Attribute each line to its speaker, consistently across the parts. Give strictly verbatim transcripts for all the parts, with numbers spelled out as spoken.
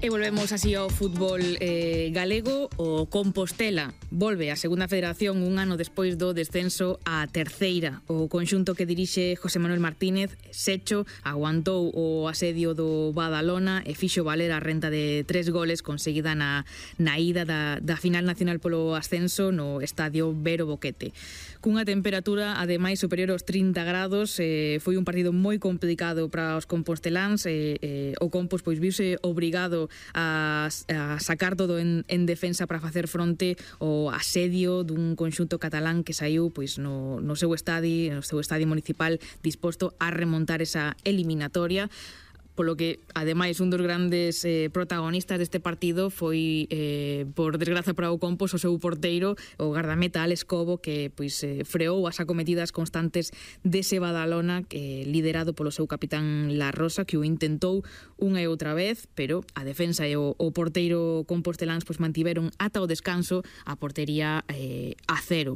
Speaker 1: E volvemos así ao fútbol eh, galego. O Compostela volve á segunda federación un ano despois do descenso á terceira. O conxunto que dirixe José Manuel Martínez, Secho, aguantou o asedio do Badalona e fixo valer a renta de tres goles conseguida na, na ida da, da final nacional polo ascenso no estadio Vero Boquete. Cunha temperatura ademais superior aos trinta grados, eh, foi un partido moi complicado para os composteláns. eh, eh, o Compos pois viuse obrigado a, a sacar todo en, en defensa para facer fronte ao asedio dun conxunto catalán que saiu pois no, no seu estadio, no seu estadio municipal, disposto a remontar esa eliminatoria. Polo que, ademais, un dos grandes eh, protagonistas deste partido foi, eh, por desgraza para o Compos, o seu porteiro, o gardameta Alex Cobo, que pois eh, freou as acometidas constantes dese Badalona, eh, liderado polo seu capitán La Rosa, que o intentou unha e outra vez, pero a defensa e o, o porteiro composteláns pois mantiveron ata o descanso a portería eh, a cero.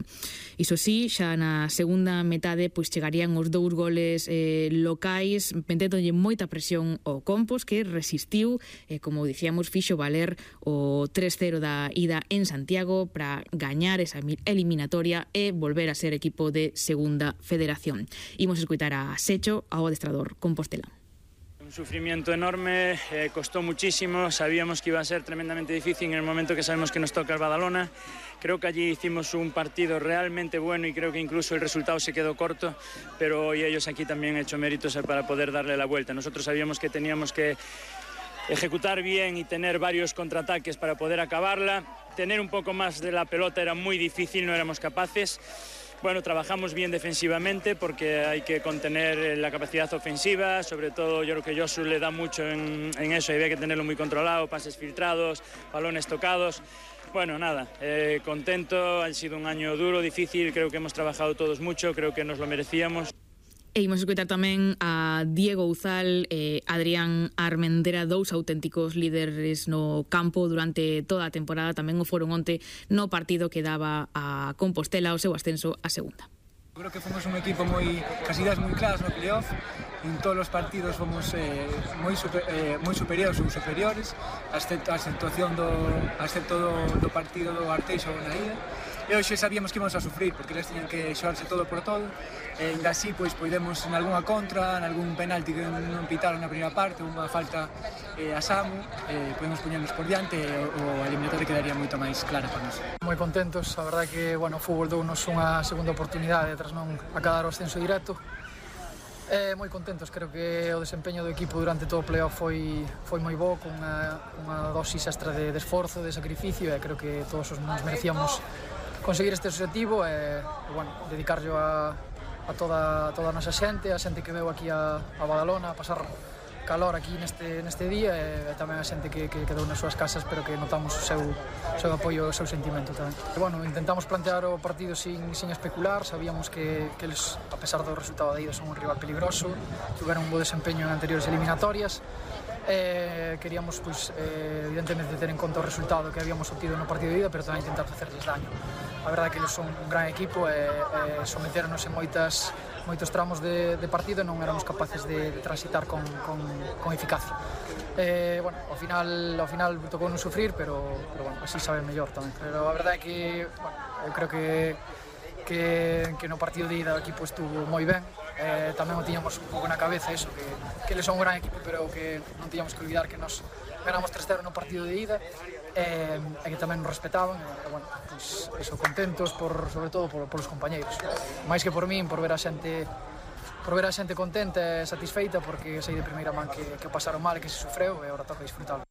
Speaker 1: Iso sí, xa na segunda metade pois chegarían os dous goles eh, locais, meténdole moita presión o Compos, que resistiu e, como dicíamos, fixo valer o tres cero da ida en Santiago para gañar esa eliminatoria e volver a ser equipo de segunda federación. Imos escutar a Secho, ao adestrador compostelán.
Speaker 2: Un sufrimiento enorme, eh, costó muchísimo, sabíamos que iba a ser tremendamente difícil en el momento que sabemos que nos toca el Badalona. Creo que allí hicimos un partido realmente bueno y creo que incluso el resultado se quedó corto, pero hoy ellos aquí también han hecho méritos para poder darle la vuelta. Nosotros sabíamos que teníamos que ejecutar bien y tener varios contraataques para poder acabarla. Tener un poco más de la pelota era muy difícil, no éramos capaces. Bueno, trabajamos bien defensivamente porque hay que contener la capacidad ofensiva, sobre todo yo creo que Josu le da mucho en, en eso y había que tenerlo muy controlado, pases filtrados, balones tocados. Bueno, nada, eh, contento, ha sido un año duro, difícil, creo que hemos trabajado todos mucho, creo que nos lo merecíamos.
Speaker 1: E imos escutar tamén a Diego Uzal e Adrián Armendera, dous auténticos líderes no campo durante toda a temporada. Tamén o foron onte no partido que daba a Compostela o seu ascenso a segunda.
Speaker 3: Creo que fomos un equipo moi, cas ideas moi claras no playoff. En todos os partidos fomos eh, moi, super, eh, moi superiores ou superiores, excepto a situación do, excepto do, do partido do Arteixo na ida. E hoxe sabíamos que íbamos a sufrir, porque eles tenían que xogarse todo por todo. E ainda así, pois, podemos en algunha contra, en algún penalti que non pitaron na primeira parte, unha falta eh, a Samu, eh, podemos poñernos por diante e o, o eliminatorio quedaría moito máis clara para nós.
Speaker 4: Moi contentos, a verdade que, bueno, o fútbol dounos unha segunda oportunidade tras non acadar o ascenso directo. Eh, moi contentos, creo que o desempeño do equipo durante todo o playoff foi, foi moi bo, con unha, unha dosis extra de, de esforzo, de sacrificio, e creo que todos nos merecíamos conseguir este objetivo e, e bueno, dedicarlo a, a toda, toda a nosa xente, a xente que veu aquí a, a Badalona, a pasar calor aquí neste, neste día e, e tamén a xente que, que quedou nas súas casas, pero que notamos o seu, o seu apoio, o seu sentimento tamén. E, bueno, intentamos plantear o partido sin, sin especular, sabíamos que, que eles, a pesar do resultado da ida, son un rival peligroso, tiveron un bo desempeño en anteriores eliminatorias. Eh, queríamos, pois, eh, evidentemente, ter en conta o resultado que habíamos obtido no partido de ida, pero tamén intentar facerles daño. A verdade é que eles son un gran equipo e, e someteronos en moitas, moitos tramos de, de partido e non éramos capaces de, de transitar con, con, con eficacia. Eh, bueno, ao final, ao final tocou non sufrir, pero, pero bueno, así sabe mellor tamén. Pero a verdade é que, bueno, eu creo que que, que no partido de ida o equipo estuvo moi ben. Eh, tamén o tiñamos un pouco na cabeza eso, que, que eles son un gran equipo, pero que non tiñamos que olvidar que nos ganamos tres cero no partido de ida eh, e que tamén nos respetaban e, e bueno, pues, eso, contentos por, sobre todo por, por os compañeiros, máis que por min, por ver a xente por ver a xente contenta e satisfeita, porque sei de primeira man que, que pasaron mal e que se sufreu e agora toca disfrutar.